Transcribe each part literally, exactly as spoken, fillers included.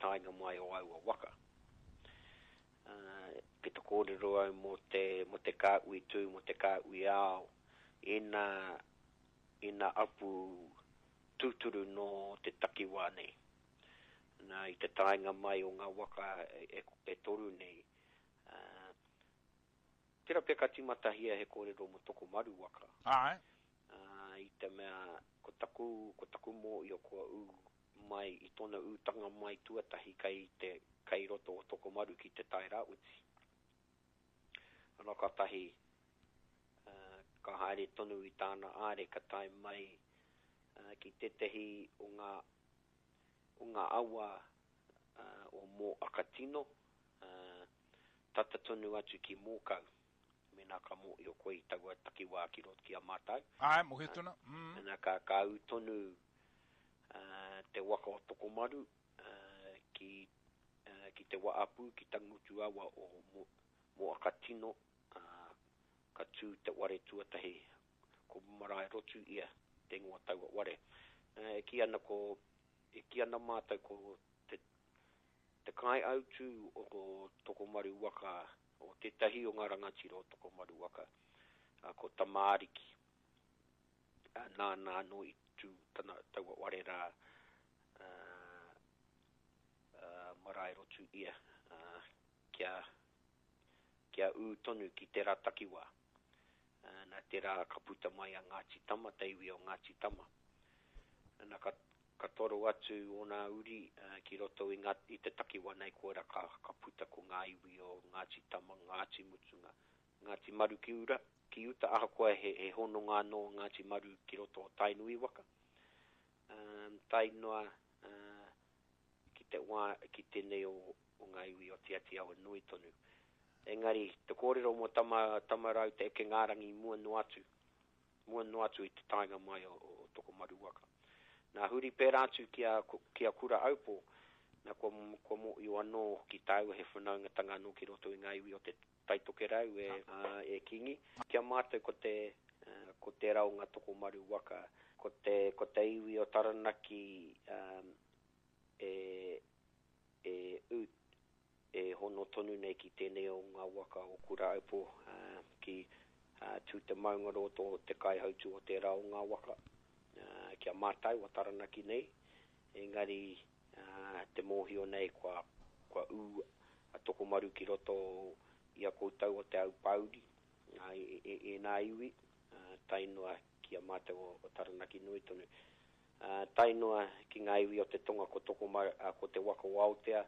taenga mai o aua waka. Uh, ki te kōrero au mō te, mō te kāhui tū, mō te kāhui ao, ina, ina apu tūturu nō te takiwā nei. Nā, i te taenga mai o ngā waka e, e, e toru nei. Uh, tērā pea ka tīmatahia he kōrero mō Tokomaru waka. Āe. Uh, i te mea, ko taku, ko taku mōhio kua ū mai, i tōna ūtanga mai tuatahi kei te, kei roto o Tokomaru ki te Tai Rāwhiti. Ana kātahi, uh, ka haere tonu i tāna āre, ka tae mai uh, ki tētehi o ngā, o ngā awa uh, o Mōakatino, uh, tata tonu atu ki Mōkau. Mēnā ka mōhio koe i taua takiwā ki roto ki a mātou. Āe, mōhio tonu. Mm. Ana ka, ka ū tonu uh, te waka o Tokomaru uh, ki, uh, ki te Waapu, ki Tangutu awa o Mo, Mōakatino, uh, ka tū te ware tuatahi, ko Marae Rotu ia, te ingoa taua ware. Uh, e kī ana ko, e kī ana mātou ko te, te kai autū o Tokomaru waka, o tētahi o ngā rangatira o Tokomaru waka, uh, ko Tamaariki. Uh, nāna anō i tū tana taua ware rā, uh, uh, Marae Rotu ia, uh, kia, kia ū tonu ki tērā takiwā. Uh, nā tērā ka puta mai a Ngāti Tama, te iwi o Ngāti Tama. Nā ka, ka toro atu ōna uri uh, ki roto i, ngā, i te takiwā nei koera ka, ka puta ko ngā iwi o Ngāti Tama, Ngāti Mutunga, Ngāti Maru ki ura, ki uta ahakoa he, he hononga anō Ngāti Maru ki roto o Tainui waka. Um, tae noa uh, ki te wā, ki tēnei o, o ngā iwi o Te Āti Awa nui tonu. Engari, te kōrero mō tama, Tamarau te eke ngārangi mua noa atu, mua noa atu i te taenga mai o, o Tokomaru waka. Nā huri pērā atu ki a, ki a Kura Aupo, nā kua, kua mōhio anō ki tāua he whanaungatanga anō ki roto i ngā iwi o te Taitokerau e, uh, e Kingi. Kia mātou ko te, uh, ko tērā o ngā Tokomaru waka, ko te, ko te iwi o Taranaki um, e, e, u, e hono tonu nei ki tēnei o ngā waka o Kura Aupo, uh, ki uh, Tū te Maungaroto te kaihautu o tērā o ngā waka. Uh, kia mātou o Taranaki nei, engari uh, te mōhio nei kua, kua ū a Tokomaru ki roto i a koutou o te Aupouri, uh, e, e, e nā iwi, uh, tae noa ki a mātou o, o Taranaki nui tonu. Uh, tae noa ki ngā iwi o te tonga ko Tokomaru, uh, ko te waka o Aotea.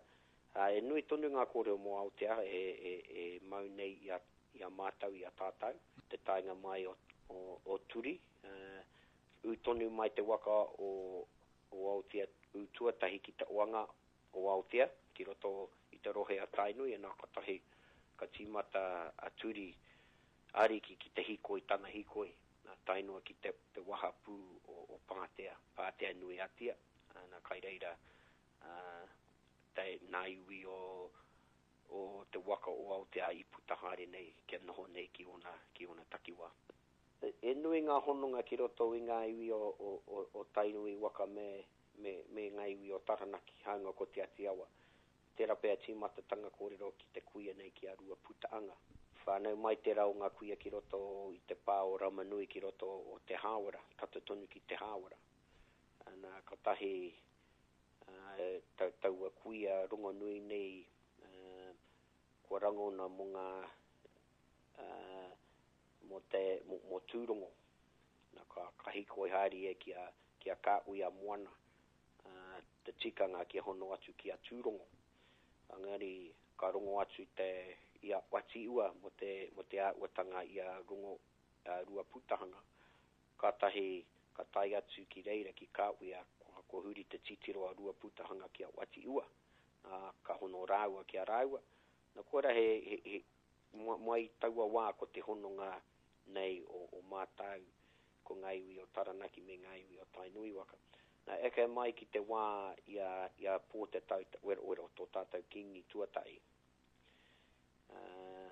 Uh, e nui tonu ngā kōrero mō Aotea e, e, e mau nei i a, i a mātou, i a tātou. Te taenga mai o, o, o Turi, uh, ū tonu mai te waka o, o Aotea, ū tuatahi ki te oanga o Aotea, ki roto i te rohe a Tainui, e nā katahi ka tīmata a Turi ariki ki te hikoi, tana hikoi, nā tae noa ki te, te wahapū o, o Pātea, Pātea nui atia, nā kai reira uh, te nā iwi o, o te waka o Aotea i puta haere nei, kia noho nei ki ona, ki ona takiwā. E nui ngā hononga ki roto i ngā iwi o, o, o, o Tainui waka me, me, me ngā iwi o Taranaki, hāunga ko Te Āti Awa. Tērā pea tīmatatanga kōrero ki te kuia nei ki a Rua Putaanga. Whānau mai tērā o ngā kuia ki roto i te pā o Ramanui ki roto o Te Hāwera, tata tonu ki Te Hāwera. Ana katahi uh, ta, taua kuia rongonui nei uh, kua rangona mō ngā uh, mō te mō, mō Tūrongo. Nā ka, ka hikoi haere e ki a, ki a Kāhui a Moana, uh, te tikanga kia hono atu ki a Tūrongo. Engari ka rongo atu te i a Watiua mō te, mō te āhuatanga i a rongo uh, Rua Putahanga. Kātahi ka tae atu ki reira ki Kāhui, kua, kua huri te titiro a Rua Putahanga ki a Watiua. Uh, ka hono rāua ki a rāua. Nā koera he, he, he mai taua wā ko te hononga nei o, o mātou ko ngā iwi o Taranaki me ngā iwi o Tainui waka. Nā, eke mai ki te wā i a, i a Pōtatau Te Wherowhero tō tātou Kingi tuatahi. Uh,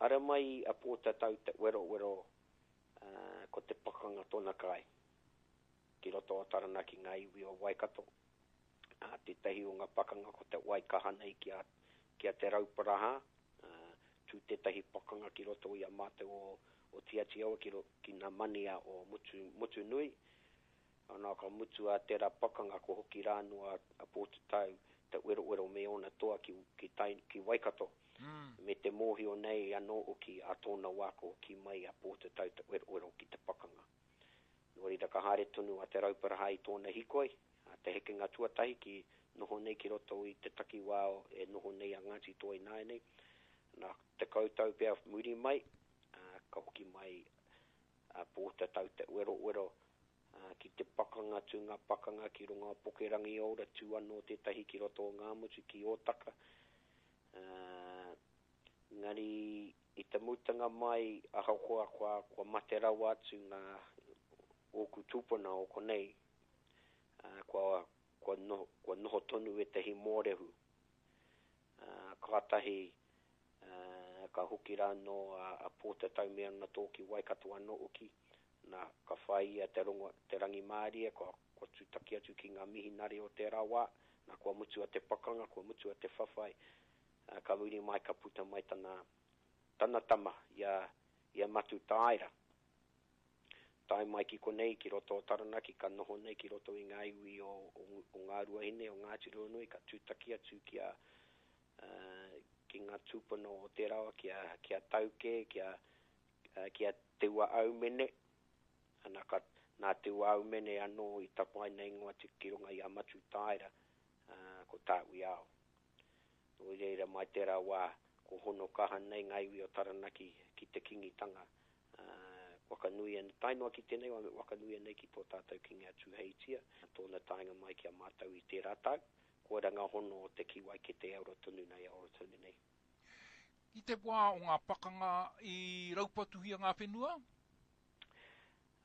ara mai a Pōtatau Te Wherowhero uh, ko te pakanga tōna kai ki roto o Taranaki ngā iwi o Waikato. Uh, tētahi o ngā pakanga ko te Waikaha nei ki a, ki a Te Rauparaha, uh, tū tētahi pakanga ki roto i a mātou o, o Te Atiawa ki, ro, ki ngā mania o Mutu, Mutunui. Ana ka mutu a tērā pakanga ko hoki rāno a, a Pōtatau Te Wherowhero me ōna toa ki, ki, tai, ki Waikato. Mm. Me te mōhio nei anō hoki a tōna wā ko hoki mai a Pōtatau Te Wherowhero ki te pakanga. Nō reira ka haere tonu a Te Rauparaha i tōna hikoi, a te hekenga tuatahi ki noho nei ki roto i te takiwā e noho nei a Ngāti Toa ināianei. Nā te kautau pea muri mai, a, ka hoki mai a Pōtatau Te Wherowhero a, ki te pakanga, tū ngā pakanga ki runga o Pukerangiora, tū anō tētahi ki roto o Ngāmotu ki Ōtaka. Uh, ngari i te mutanga mai ahakoa kua, kua mate rawa atu ngā ōku tūpuna o konei, uh, kua, kua, noho, kua noho tonu ētahi mōrehu. Uh, kātahi uh, ka hoki rānō a, a Pōtatau me ana tō ki Waikato anō hoki. Nā, ka whai ia te, rongo, te rangimārie, kua, kua tūtaki atu ki ngā mihinare o tērā wā. Nā, kua mutu a te pakanga, kua mutu a te whawhai. Uh, ka muri mai ka puta mai tana, tana tama i a, i a Matutaera. Tae mai ki konei, ki roto o Taranaki, ka noho nei ki roto i ngā iwi o, o, o Ngā Ruahine, o Ngāti Ruanui, ka tūtaki atu ki a, uh, ki ngā tūpuna o te rawa, ki a, ki a Tauke, ki a, uh, ki a Te Ua Aumene. Ana ka, nā Te Ua Aumene anō i tapaina ingoa atu ki runga i a Matutaera, uh, ko Tāwiao. Nō reira mai tērā wā, ko hono kaha nei ngā iwi o Taranaki ki te kingitanga. Uh, wakanuia, tae noa ki tēnei wā, wakanuia nei ki tō tātou kingi a Tūheitia, tōna taenga mai ki a mātou i tērā tau, koira ngā hono o te kiwai ki te euro tonu nei, euro tonu nei. I te wā o ngā pakanga i raupatuhia ngā whenua?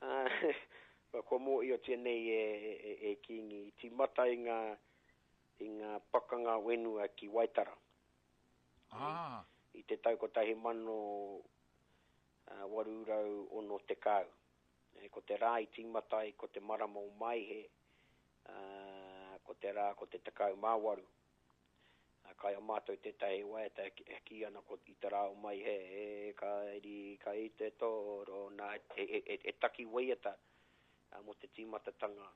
Uh, kua mōhiotia nei e, e, e Kingi, i tīmata i ngā, i ngā pakanga whenua ki Waitara. Ah. I, i te tau kotahi mano uh, waru rau ono tekau. E, ko te rā i tīmata ai, ko te marama o Maihe, uh, ko te rā ko te tekau mā waru. Uh, kai a mātou tētahi waiata e kī ana ko i te rā o Maihe, e ka iri, ka i te toro, nā, e, e, e, e taki waiata uh, mō te tīmatatanga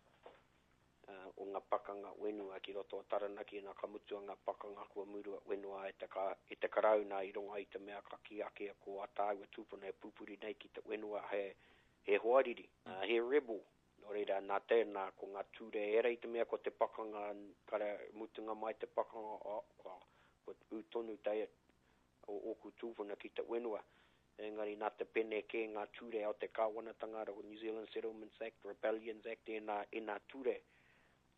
uh, o ngā pakanga whenua ki roto o Taranaki, nā ka mutu ngā pakanga kua murua whenua e te, ka, e te karauna i runga i te mea ka kī ake ko a tāua tūpuna e pupuri nei ki te whenua he, he hoariri, uh, he rebel. Nō reira, nā tēnā ko ngā ture era i te mea ko te pakanga, kare mutunga mai te pakanga, oh, kua, kua ū tonu te o ōku tūpuna ki te whenua. Engari nā te pene kē ngā ture o te kāwanatanga, o New Zealand Settlements Act, Rebellions Act, ēnā, ēnā ture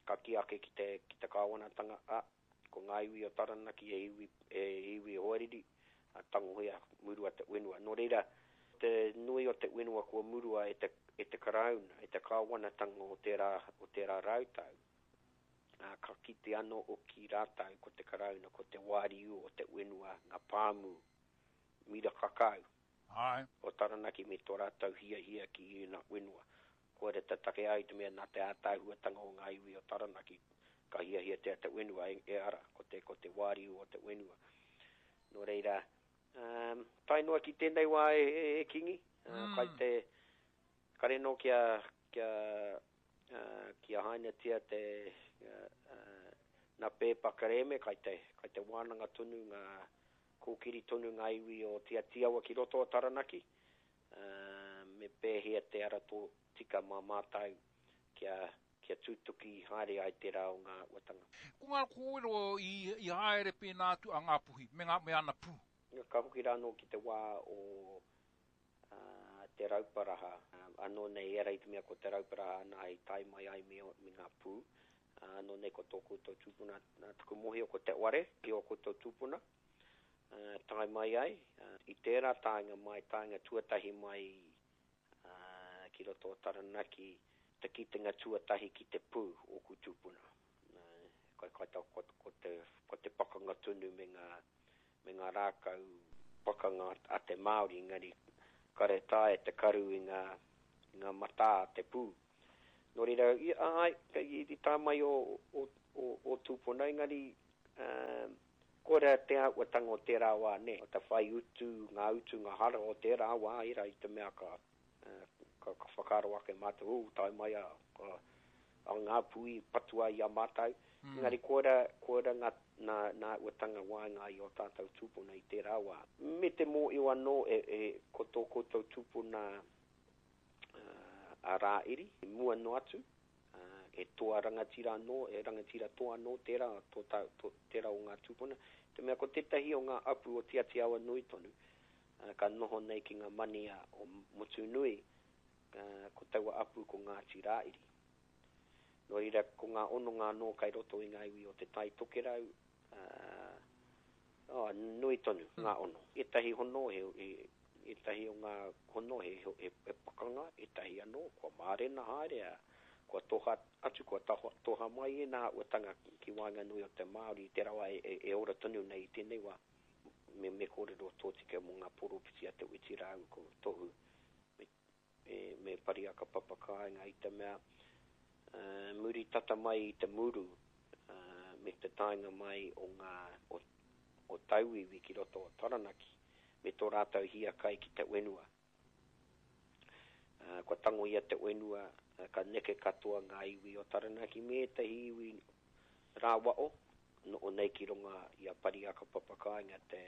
ka kī ake ki te, ki te kāwanatanga, a, ko ngā iwi o Taranaki e iwi, e iwi hoariri, a tangohia murua te whenua. Nō reira, te nui o te whenua kua murua e te, e te karauna, e te kāwanatanga o tērā, o tērā rautau, a, ka kite anō o ki rātau ko te karauna, ko te wāriu o te whenua, ngā pāmu, mira kakau. Ai. O Taranaki me tō rātau hiahia ki ēnā whenua. Koira te take ai te mea nā te ātahuatanga o ngā iwi o Taranaki, ka hiahia te te whenua e, e ara, ko te, ko te wāriu o te whenua. Nō reira, um, tae noa ki tēnei wā e, e, e Kingi, uh, Mm. kai te kare nō kia, kia, uh, kia hainatia te uh, uh, nā pēpa kerēme, kai te, kai te wānanga tonu ngā kōkiri tonu ngā iwi o Te Atiawa ki roto o Taranaki, uh, me pēhea te ara tō tika mā mātou kia, kia tūtuki haere ai tērā o ngā uatanga. Ko ngā kōrero i, i haere pēnā atu a Ngāpuhi, me, ngā, me ana pū. Ka hoki rānō ki te wā o uh, Te Rauparaha, uh, anō nei era i te mea ko Te Rauparaha ana i tae mai ai me, me ngā pū. Uh, anō nei ko tō koutou tūpuna, nā taku mōhio ko Te Ware, ki o koutou tūpuna, uh, tae mai ai. Uh, i tērā taenga mai, taenga tuatahi mai uh, ki roto o Taranaki, te kitenga tuatahi ki te pū o ku tūpuna. Uh, kai, kai ta, ko, ko, te, ko te pakanga tonu me ngā, me ngā rākau pakanga a te Māori, engari kare tae te karu i ngā, i ngā matā a te pū. Nō reira, i, ai, i, i tā mai o, o, o, o tūpuna, engari um, koira te āhuatanga o tērā wā, nē. O te whai utu, ngā utu, ngā hara o tērā wā, ira i te mea ka, ka, ka whakaaro ake mātou, ū, tae mai a, a, a ngā pui patua i a mātou. Mm. Engari koira, koira ngā, nā, nā āhuatanga waenga i o tātou tūpuna i tērā wā. Me te mōhio anō e, e, ko tō koutou tūpuna uh, a Rāiri, i mua noa atu, uh, e toa rangatira anō, e rangatira toa anō tērā, tō, tā, tō, tērā o ngā tūpuna. Te mea ko tētahi o ngā apu o Te Ati Awa nui tonu, uh, ka noho nei ki ngā mania o Motunui, uh, ko taua apu ko Ngāti Rāiri. Nō reira, ko ngā hononga anō kai roto i ngā iwi o Te Tai Tokerau, uh, oh, nui tonu ngā hono. Ētahi hono, he, he, ētahi o ngā hono he, he, he pakanga, ētahi anō, kua mārena haere, kua toha atu, kua taho, toha mai e nā āhuatanga ki waenganui o te Māori, te rawa e, e, e ora tonu nei i tēnei wā. Me, me kōrero tōtika mō ngā poropiti a Te Witi rāua ko Tohu me, me, me Pariaka Papakāinga i te mea uh, muri tata mai i te muru uh, me te taenga mai o ngā o, o tauiwi ki roto o Taranaki me tō rātou hiakai ki te whenua. Uh, kua tango ia te whenua, uh, ka neke katoa ngā iwi o Taranaki me ētahi iwi rāwao, no o nei ki runga i a Pariaka Papakāinga te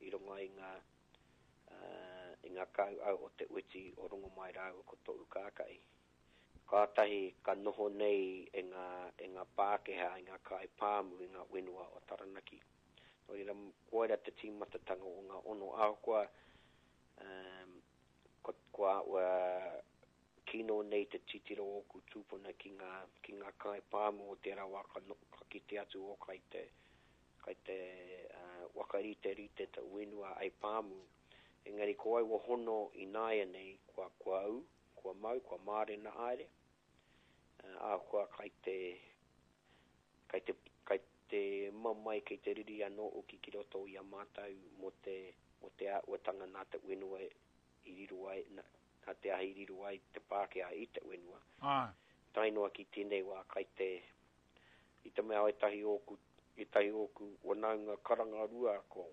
i runga i ngā uh, i ngā kauau o Te Witi o Rongomai rāua ko Tohu Kākahi. Kātahi ka noho nei e ngā, e ngā Pākehā, e ngā kai pāmu i ngā whenua o Taranaki. Nō reira, koira te tīmatatanga o ngā ono ahakoa um, ko, kua, ua, kino nei te titiro o ōku tūpuna ki ngā, ki ngā kai pāmu o tērā wā ka, no, ka kite atu o kai te, kai te uh, wakarite rite te whenua ai pāmu. Engari ko aua hono i nāianei kua, kua au, kua mau, kua mārena haere, uh, ahakoa kai te, kai te, kai te mamae, kei te riri anō hoki ki roto i a mātou mō te, mō te āhuatanga nā te whenua i riro ai, nā, nā te ahi i riro ai te Pākehā i te whenua. Ah. Tae noa ki tēnei wā kai te, i te mea ētahi ōku, ētahi ōku whanaunga karangarua ko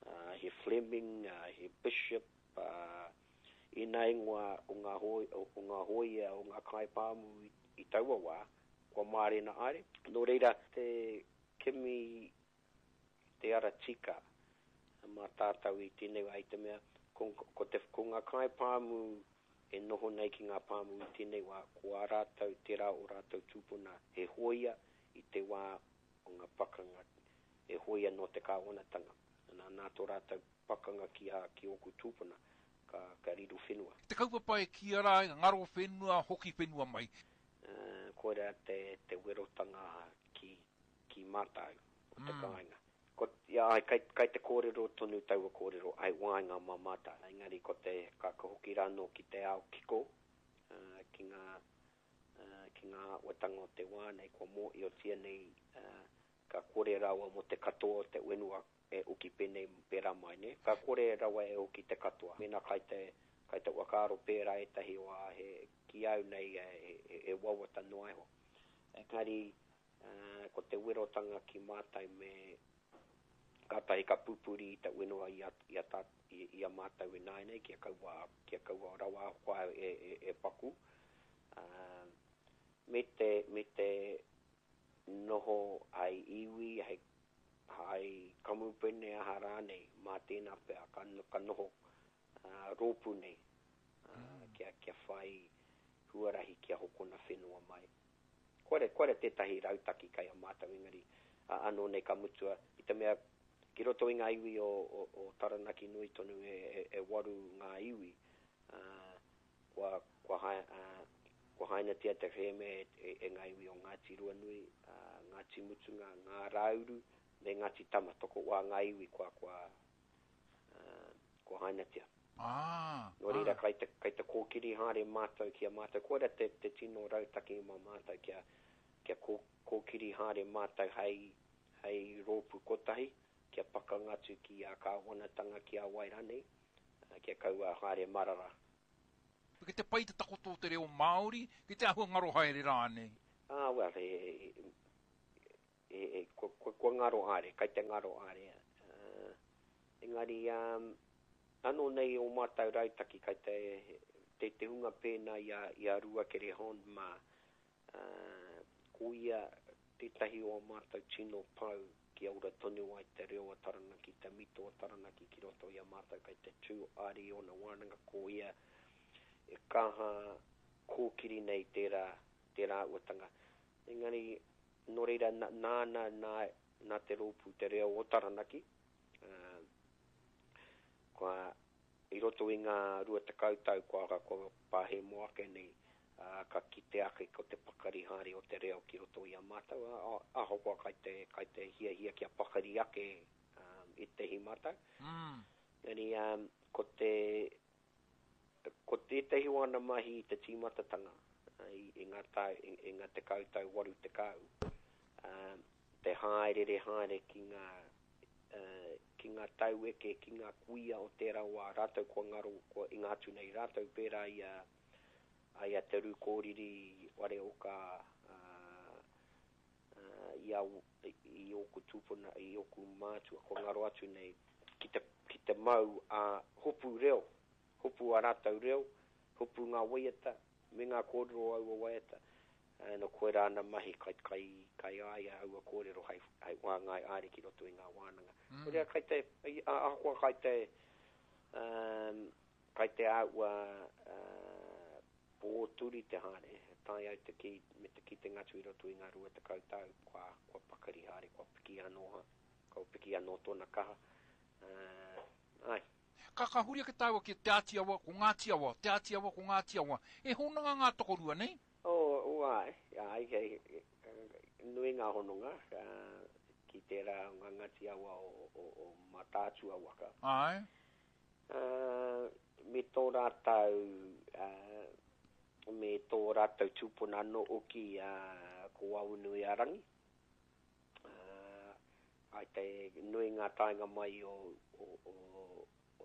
uh, he Fleming, uh, he Bishop, uh, ēnā ingoa o ngā hoi, o, o ngā hōia, o ngā kaipāmu i, i taua wā, kua mārena haere. Nō reira, te kimi te ara tika mā tātou i tēnei wā i te mea, ko, ko, te, ko ngā kaipāmu e noho nei ki ngā pāmu i tēnei wā, ko ā rātou, tērā o rātou tūpuna he hōia i te wā o ngā pakanga, e hōia nō te kāwanatanga. Nā, nā tō rātou pakanga ki, a, ki ōku tūpuna, ka, ka riro whenua. Te kaupapa e kīia rā, ngaro whenua, hoki whenua mai. Uh, koira te, te werotanga ki, ki mātou o te mm. kāinga. Ko, ia, ai, kai, kai te kōrero tonu taua kōrero, ai waenga mā mātou. Engari ko te, ka, ka hoki rānō ki te ao kiko, uh, ki ngā, uh, ki ngā āhuatanga o te wā nei, kua mōhiotia nei, uh, ka kore rawa mō te katoa o te whenua e uki pēnei pērā mai, ne? Ka kore rawa e uki te katoa. Mēnā kai te, kai te whakaaro pērā ētahi o a he, ki au nei e, e, e wawata noa iho. Engari, uh, ko te werotanga ki mātou me kātahi ka pupuri i te whenua i a, i a, tā, i, i a mātou e nāianei, kia kaua, kia kaua rawa koa e, e, e paku. Uh, me te, me te noho ai iwi, hei, hai kamupene aha rānei, mā tēnā pea, ka, ka noho uh, rōpū nei, uh, mm. kia, kia whai huarahi kia hokona whenua mai. Koare, koare tētahi rautaki kai a mātou engari, uh, anō nei ka mutua, i te mea ki roto i ngā iwi o, o, o Taranaki nui tonu e, e, e waru ngā iwi, uh, kua, kua, hai, uh, kua hainatia te whēme e, e, e ngā iwi o Ngāti Ruanui, uh, Ngāti Mutunga, Ngā Rauru, me Ngāti Tama, tokowā ngā iwi kua, kua, uh, kua hainatia. Ah, Nō reira, kai te, kai te kōkiri haere mātou ki a mātou. Koira te, te tino rautaki mā mātou kia, kia kō, kōkiri haere mātou hei, hei rōpū kotahi, kia pakanga atu ki a kāwanatanga ki a wai rānei, kia kaua haere marara. Ki te pai te takoto o te reo Māori, ki te āhua ngaro haere rānei? Ah, well, he, he, e, e, kua, kua, kua ngaro haere, kai te ngaro haere. Uh, engari, um, anō nei o mātou rautaki kai te, te, te hunga pēnā i a, i a Ruakere Hond mā, uh, ko ia tētahi o mātou tino pau kia ora tonu ai te reo a Taranaki, te mito o Taranaki ki roto i a mātou kai te tū ari ona wānanga ko ia e kaha kōkiri nei tērā, tērā uatanga. Engari, nō reira, nāna nā, nā te rōpū te reo o Taranaki, uh, kua i roto i ngā rua tekau tau kua, kua pāhemo ake nei, uh, ka kite ake ko te pakari haere o te reo ki roto i a mātou, ahakoa kai te, kai te hiahia kia pakari ake um, i te hi mātou. Mm. Engari, um, ko te ko tētahi o ana mahi i te tīmatatanga i, i ngā tau, i, i ngā tekau tau waru tekau, um, te haerere haere ki ngā, uh, ki ngā taueke, ki ngā kuia o tērā wā, rātou kua ngaro, kua inga atu nei, rātou pērā i a, ai a Te Rūkōriri, Wareoka, uh, uh, i, a, i ōku tūpuna, i ōku mātua, kua ngaro atu nei, ki te, ki te mau a hopu reo, hopu a rātou reo, hopu ngā waiata, me ngā kōrero aua waiata. Uh, no koe rā ana mahi kai, kai, kai ai a aua kōrero hei, hei wāngai aere ki roto i ngā wānanga. Mm. Korea kai te, ahakoa kai te, um, kai te aua uh, pōturi te haere, tae au te ki, me te kitenga atu i roto i ngā rua tekau tau, kua, kua pakari haere, kua piki anō, kua piki anō tōna kaha. Uh, ai. Ka ka huri ake tāua ki Te Āti Awa, ko Ngāti Awa, Te Āti Awa, ko Ngāti Awa. E hononga ngā tokorua nei? O, o ai, ai, hei, nui ngā hononga, uh, ki tērā o ngā Ngāti Awa o, o, o Mātaatua waka. Ai. Uh, me tō rātou, uh, me tō rātou tūpuna anō oki uh, ko Awanui-a-Rangi. Uh, ai te nui ngā taenga mai o, o, o,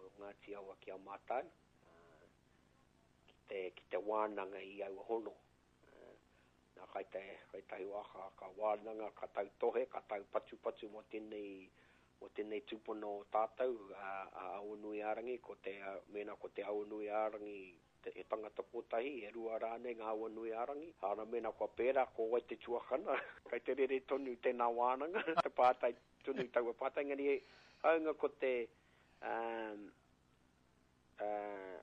o Ngāti Awa ki a mātou, uh, ki te, ki te wānanga i aua hono. Uh, nā kai te, kai tahi waka, ka wānanga, ka tautohe, ka tau patupatu mō tēnei, mō tēnei tūpuna o tātou, a, a Awanui-a-Rangi, ko te, mēnā ko te Awanui-a-Rangi te, e tangata kotahi, e rua rānei ngā Awanui-a-Rangi. Hāna mēnā kua pērā, ko wai te tuakana, kai te rere tonu tēnā wānanga, te pātai tonu taua pātai, engari haunga ko te, um, uh,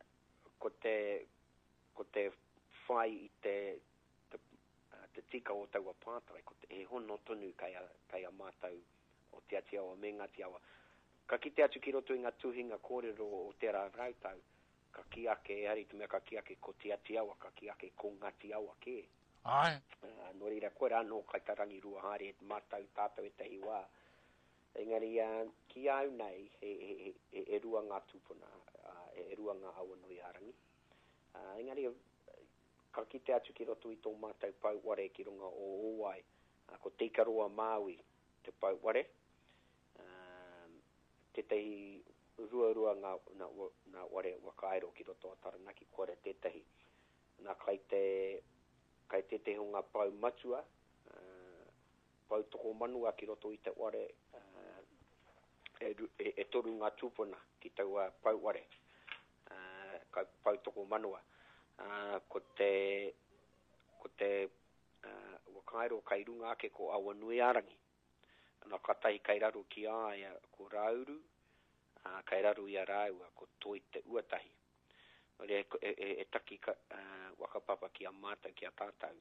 ko te, ko te whai i te, te, uh, te tika o taua pātai, ko te, he hono tonu kai a, kai a mātou o Te Āti Awa me Ngāti Awa. Ka kite atu ki roto i ngā tuhinga kōrero o tērā rautau, ka ki ake, ehara i te mea ka ki ake ko Te Āti Awa, ka ki ake ko Ngāti Awa kē. Ai. Uh, nō reira, koe rā anō kai tā rangirua haere mātou tātou ētahi wā. Engari, uh, ki au nei, he, he, he, he rua ngā tūpuna, uh, he rua ngā Awanui-a-Rangi. Uh, engari, ka kite atu ki roto i tō mātou pouware ki runga o Ōwai, uh, ko Te Ikaroa Māui te pouware. Um, tētahi ruarua ngā, nā, nā ware wakaero ki roto o Taranaki, koare tētahi. Nā kai te, kai tētahi o ngā pau matua, uh, pau tokomanua ki roto i te ware, uh, e, e, e toru ngā tūpuna ki taua pouware, uh, kai pau tokomanua. Uh, ko te, ko te uh, wakaero kai runga ake ko Awanui-a-Rangi. Nā katahi kai raro ki a ia ko Rauru, uh, kai raro i a rāua ko Toi te Uatahi. Nō reira, e, e, e taki ka, uh, wakapapa ki a mātou, ki a tātou,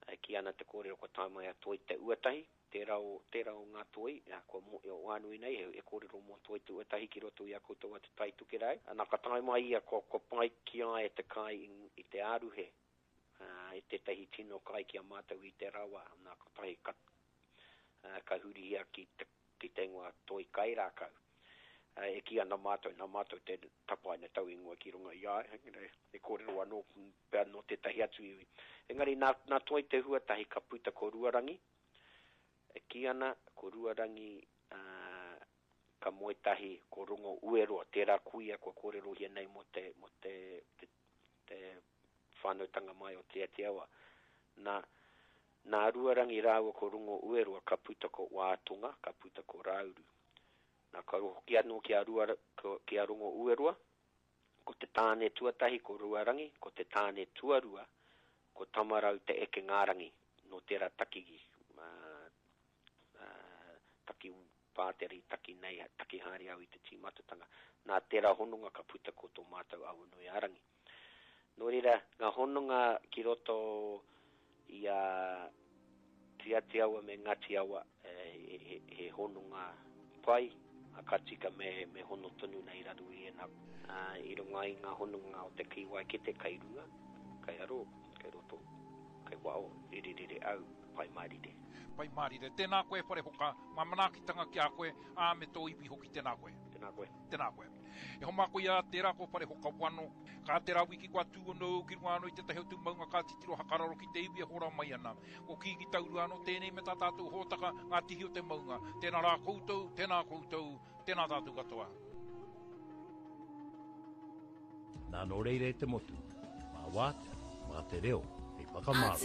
uh, ki ana te kōrero kua tae mai a Toi te Uatahi, tērā o, tērā o ngā toi, uh, kua mō, o Wānui nei, e, e kōrero mō Toi te Uatahi ki roto i a koutou a Te Tai Tokerau. Nā ka tae mai ia kua, kua pai ki a ia te kai i, i te aruhe, uh, i tētahi tino kai ki a mātou i te rawa, nā ka tahi ka, uh, ka hurihia ki te, ki te ingoa Toi Kairākau. Uh, e ki ana mātou, nā mātou te tapaina tau ingoa ki runga i a, e, e kōrero anō pea nō tētahi atu iwi. Engari nā, nā Toi te Huatahi ka puta ko Ruarangi, e ki ana ko Ruarangi uh, ka moe tahi ko Rongo Ueroa, tērā kuia kua kōrerohia nei mō te, mō te, te, te whānautanga mai o Te Āti Awa. Nā, Nā Ruarangi rāua ko Rongo Ueroa ka puta ko Wātonga, ka puta ko Rāuru. Nā ka hoki anō ki a, Rua, ki a Rongo Ueroa, ko te tāne tuatahi ko Ruarangi, ko te tāne tuarua, ko Tamarau te eke ngārangi, nō tērā taki, uh, uh, taki pātere i taki nei, taki haere au i te tīmatatanga. Nā tērā hononga ka puta ko tō mātou Awanuiārangi. Nō reira, ngā hononga ki roto i a Te Atiawa me Ngāti Awa, he, he, he hononga pai, a ka tika me, me hono tonu nei raro i ēnā. I runga i ngā hononga o te kīwai kete kai runga, kai aro, kai roto, kai wao, rere rere au, pai mārire. Pai mārire. Tēnā koe Wharehoka, ngā manaakitanga ki a koe, ā, me tō iwi hoki tēnā koe. Tēnā koe. Tēnā koe. E homa koe a tērā ko Wharehoka Wano, ka tērā wiki kua tū anō ki runga anō i tētahi o tū maunga ka titiro hakararo ki te iwi e hora mai ana. Ko Kīngi Taurua anō tēnei me tā tātou hōtaka ngā tihi o te maunga. Tēnā rā koutou, tēnā koutou, tēnā tātou katoa. Nā nō reira e te motu, mā wātea, mā te reo, hei whakamārama.